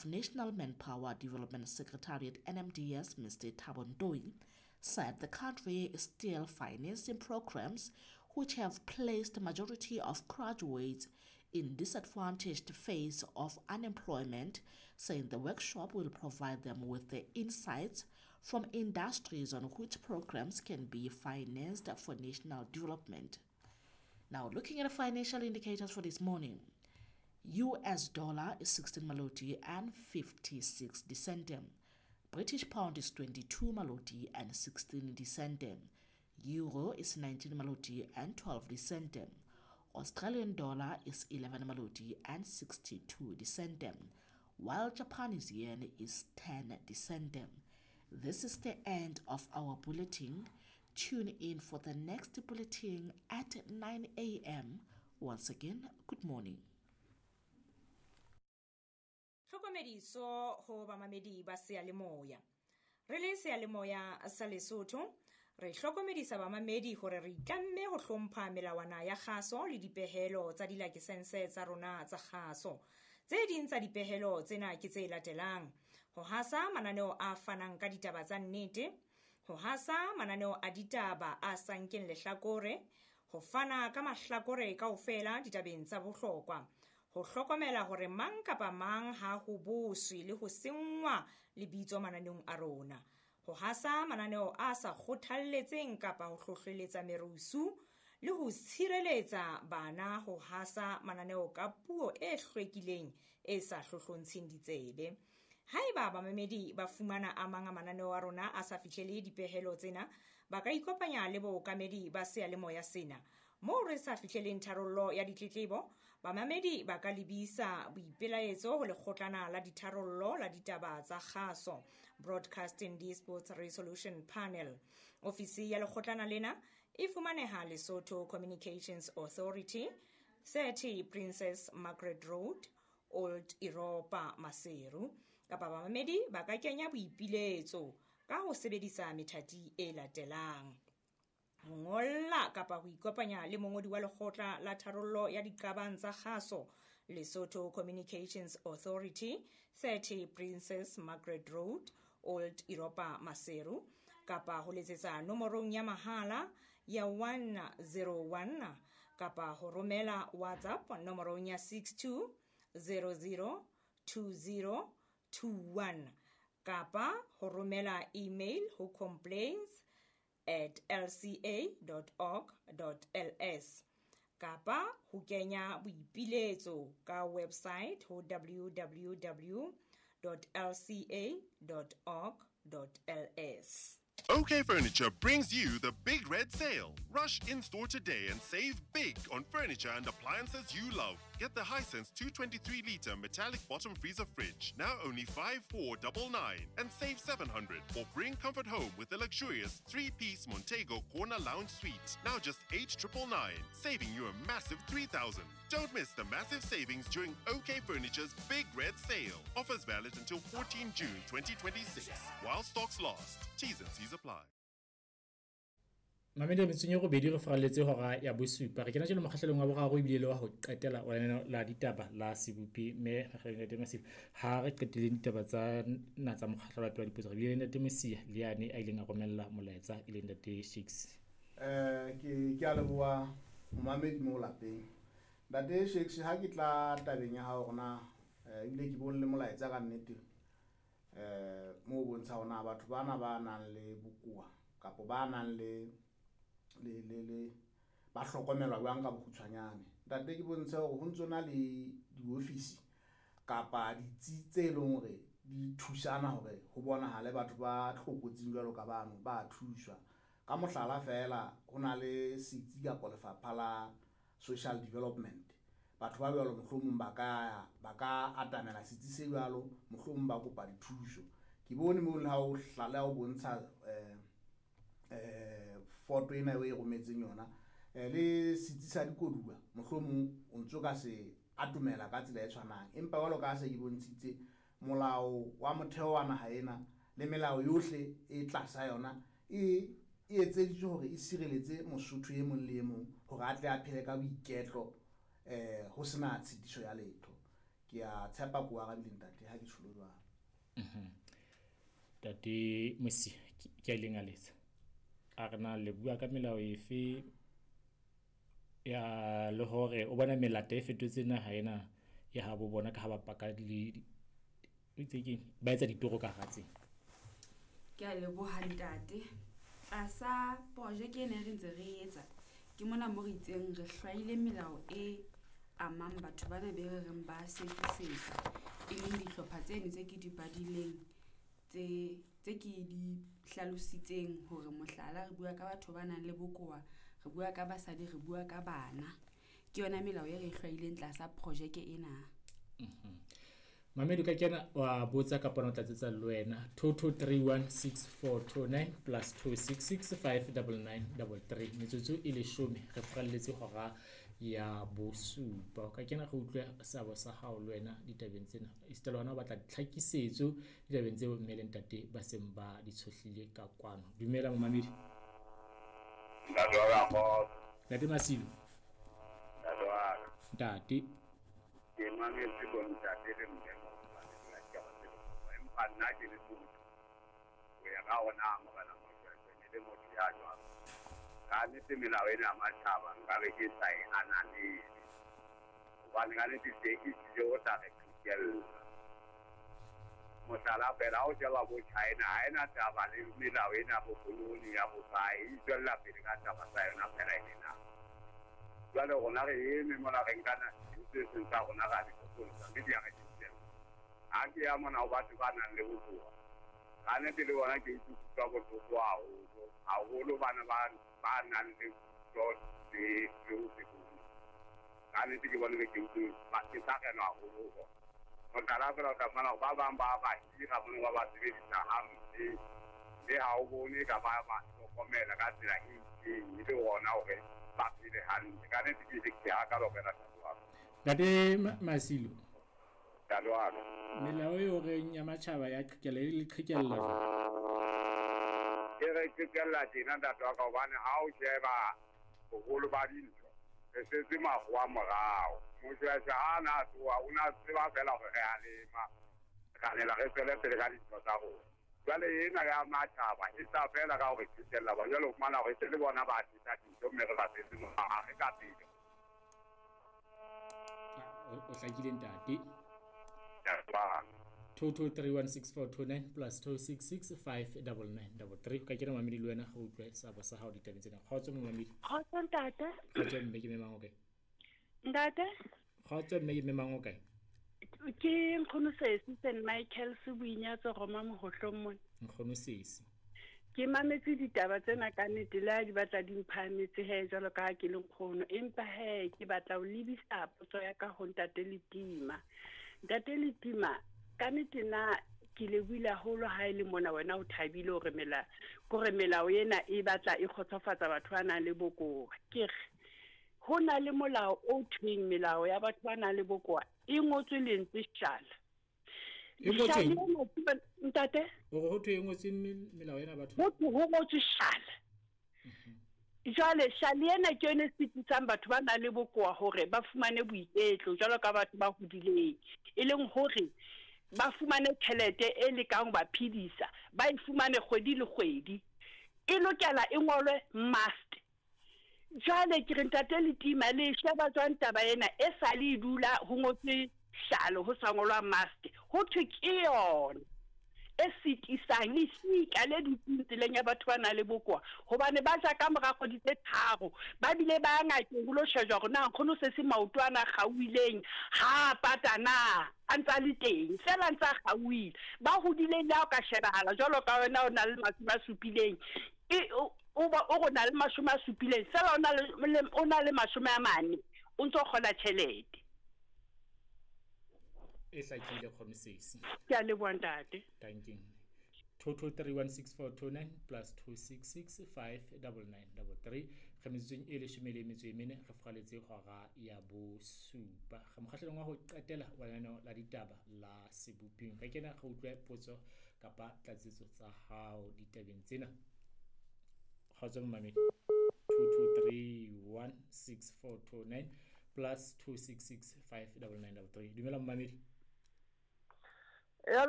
of National Manpower Development Secretariat NMDS, Mr. Thabo Ntoi, said the country is still financing programs which have placed the majority of graduates in disadvantaged phase of unemployment, saying the workshop will provide them with the insights from industries on which programs can be financed for national development. Now, looking at the financial indicators for this morning, US dollar is 16 maloti and 56 dicentem. British pound is 22 maloti and 16 dicentem. Euro is 19 maloti and 12 dicentem. Australian dollar is 11 maloti and 62 dicentem, while Japanese yen is 10 dicentem. This is the end of our bulletin. Tune in for the next bulletin at 9 a.m. Once again, good morning. Tlhokomediso ho bamamedi ba seyalemoya. Re le seyalemoya sa Lesotho, re hlokomedisa bamamedi hore re itlamme ho hlompha melawana ya kgaso le dipehelo tsa dilakesense tsa rona tsa kgaso. Tse ding tsa dipehelo tsena ke tse latelang: ho hasa mananeo a fanang ka ditaba tsa nnete, ho hasa mananeo a ditaba a sa nkeng lehlakore, ho fana ka mahlakore kaofela ditabeng tsa bohlokwa, ho hlokomela hore mang kapa mang ha ho boswe le ho senngwa lebitso mananeong a rona, ho hasa mananeo a sa kgothalletseng kapa ho hlohleletsa merusu, le ho tshireletsa bana ho hasa mananeo ka puo e hlwekileng e sa hlohlontsheng ditsebe. Haeba bamamedi ba fumana a mang a mananeo a rona a sa fihlele dipehelo tsena, ba ka ikopanya le bookamedi ba seyalemoya sena. Moo re sa fihleleng tharollo ya ditletlebo, bamamedi ba ka lebisa boipelaetso ho lekgotlana la ditharollo la ditaba tsa kgaso, Broadcasting Disputes Resolution Panel. Ofisi ya lekgotlana lena e fumaneha Lesotho Communications Authority, 30 Princess Margaret Road, Old Europa, Maseru. Kapa bamamedi ba ka kenya boipiletso ka ho sebedisa methati e latelang: ho ngolla kapa ho ikopanya le mongodi wa lekgotla la tharollo ya diqabang tsa kgaso, Lesotho Communications Authority, 30 Princess Margaret Road, Old Europa, Maseru, kapa ho letsetsa nomorong ya mahala ya 101, kapa ho romela WhatsApp nomorong ya 62 00 20 21, kapa ho romela email ho complaints@lca.org.ls, kapa ho kenya boipiletso ka website ho www.lca.org.ls. OK Furniture brings you the Big Red Sale. Rush in-store today and save big on furniture and appliances you love. Get the Hisense 223-litre metallic bottom freezer fridge, now only 5499, and save 700. Or bring comfort home with the luxurious 3-piece Montego Corner Lounge Suite, now just 8999, saving you a massive 3000. Don't miss the massive savings during OK Furniture's Big Red Sale. Offers valid until 14 June 2026, while stocks last. T's and C's apply. Mamedi metsong e robedi re faralletse hora ya bosupa. Re kena jalo mokgahlelong wa boraro ebile le wa ho qetela wa lenaneo la ditaba la Sebopi, mme re Ntate Masiba. Ha re qetile ditaba tsa na tsa mokgahlelo wa pele wa dipotso, re bile le Ntate Mosia le yane a ileng a romella molaetsa, e leng Ntate Shakes. Ke a leboha momamedi mo lapeng. Ntate Shakes, ha ke tla tabeng ya hao hore na, ebile ke bone le molaetsa ka nnete, mo bontsha hore na batho bana ba nang le bokowa kapa ba nang le le le le ba hlokomelwa jwang ka bokgutshwanyane. Ntate, ke bontshe hore ho ntso na le diofisi kapa ditsi tse leng hore di thusana hore ho bonahale batho ba tlokotsing jwalo ka bano ba thuswa. Ka mohlala fela, ho na le setsi kapa lefapha la social development. Batho ba jwalo mohlomong ba ka atamela setsi se jwalo, mohlomong ba kopa dithuso. Ke bone moo le ha o hlala o bontsha, foto ena eo e rometseng yona, le setsi sa dikoduwa, mohlomong o ntso ka se atomela ka tsela e tshwanang. Empa jwalo ka ha se ke bontshitse, molao wa motheo wa naha ena le melao yohle e tlasa yona e etseditswe hore e sireletse Mosotho e mong le e mong hore a tle a phele ka boiketlo, ho sena tshitiso ya letho. Ke a tshepa ko arabile ntate ha ke tjholo jwalo. Ntate Mosia ke a ileng a letsa. A re na le bua ka melao efe ya le hore o bona melata e fetotse naha ena ya habo bona ka ha ba paka le o itse keng ba etsa ditoro ka hara tsela. Ke a leboha ntate. Tlasa projeke ena e re ntse re etsa, ke mona mo re itseng re hlwaile melao e amang batho bana be re reng ba sekisetsa, e leng dihlopha tseno tse ke di badileng tse ke di hlalositseng hore mohlala re bua ka batho ba nang le bokowa, re bua ka basadi, re bua ka bana. Ke yona melao e re e hlwaileng tlasa projeke ena. Mamedi o ka kena wa botsa kapa o tlatsetsa le wena 22316429 plus 26659933 metsotso e 10 re furalletse hora ya bosupa. O ka kena re utlwe seabo sa hao le wena ditabeng tsena, esita le hona o batla ditlhakisetso ditabeng tseo mme le ntate ba seng ba di tshohlile ka kwano. Dumela momamedi. Ntate wa ka kgotso. Ntate Masilo. Ntate wa ka. Ntate. Ke mametse bo ntate le mme empa nna ke le motho ho ya ka ona morena Moshweshwe ne le motho ya jwang. Ka nnete melao ena ya matjhaba nkabe ke sa e ananele, hobane ka nnete se e tlile ho tla re qhekella. Mohlala fela ha o sheba bo China ha ena taba le melao ena ya bokoloni ya bokae, e tswella pele ka taba tsa yona fela e le na. Jwale rona re eme mona re nkana tse seng tsa rona ra di fokotsa mme di a re qhekella. Ha ke ya mona ho batho ba nang le bokowa, ka nnete le bona ke utlwa bohloko haholo haholo bana ba nang le kutlo le ho se bone. Ka nnete ke bone ke utlwa ke sakelwa haholo ho bona. Mohlala fela o tla fumana hore ba bang ba ba hira mono ba ba sebedisa hampe, mme ha o bone ka ba ba hlokomela ka tsela e itseng e le hona hore ba phele hantle. Ka nnete ke ke hakalo fela ntate wa ka. Ntate Masilo. Ntate wa ka. Melao eo reng ya matjhaba ya qhekella e le qhekella jwang? E re qhekella tjena ntate wa ka, hobane ha o sheba boholo ba dintho re setse makgowa morao. Moshweshwe ha na tsoha o na tseba fela hore re a lema, ra nela re tswele pele ka dintho tsa rona. Jwale ena ya matjhaba e tla fela ka hore qhekella ba, jwale o fumana hore se le bona ba tlisa dintho mme re ba setse morao, ha re ka pele. O hlakile ntate. 22316429 plus 26659933. Ka kena mamedi le wena go utlwe seabo sa hao ditabeng tsena. Kgotso momamedi. Kgotso ntate. Kgotso mme ke memang o kae? Ntate. Kgotso mme ke memang o kae? Ke Nkgono Sesi St Michael Seboinyatso Roma Mohohlong mona. Nkgono Sesi. Ke mametse ditaba tsena ka nnete le ha di batla di mphahametse he jwalo ka ha ke le nkgono, empa he ke batla ho lebisa potso ya ka ho ntate Letima. Ntate Letima, ka nnete nna ke lebohile haholo ha e le mona wena o thabile hore kore melao ena e batla e kgotsofatsa batho ba nang le bokowa. Ke re ho na le molao o thweng melao ya batho ba nang le bokowa e ngotswe lentswe shala. E ngotswe ntate? Hore ho thwe e ngotswe melao ena batho. Ho ngotswe shala. Jwale shale ena ke yone e sitisang batho ba nang le bokowa hore ba fumane boiketlo jwalo ka batho ba hodileng, e leng hore ba fumane tjhelete e lekang ho ba phedisa, ba e fumane kgwedi le kgwedi. E lokela e ngolwe must. Jwale ke re ntate Letima le sheba jwang taba ena e sa le dula ho ngotswe shale ho sa ngolwa must, ho thwe ke yona e sitisang lesika le dutseng tseleng ya batho ba nang le bokowa, hobane ba ja ka mora kgwedi tse 3 ba bile ba ngakeng ho lo shejwa hore na nkgono se se maoto ana a kgaohileng ha pata na a ntsa le teng fela ntsa kgaohile. Ba hodileng le ha o ka shebahala jwalo ka wena o na le 70 e o o na le 70 fela o na le 40 o ntso kgola tjhelete. E hlakile Nkgono Sesi. Ke a leboha ntate. Thank you. 22316429 plus 26659933. Re metsotsong e 14 re furaletse hora ya bosupa. Re mokgahlelong wa ho qetela wa lenaneo la ditaba la Seboping. Re kena re utlwe potso kapa tlatsetso tsa hao ditabeng tsena. Kgotso momamedi. 22316429 +266 5 99 33. Dumela, momamedi. Ya.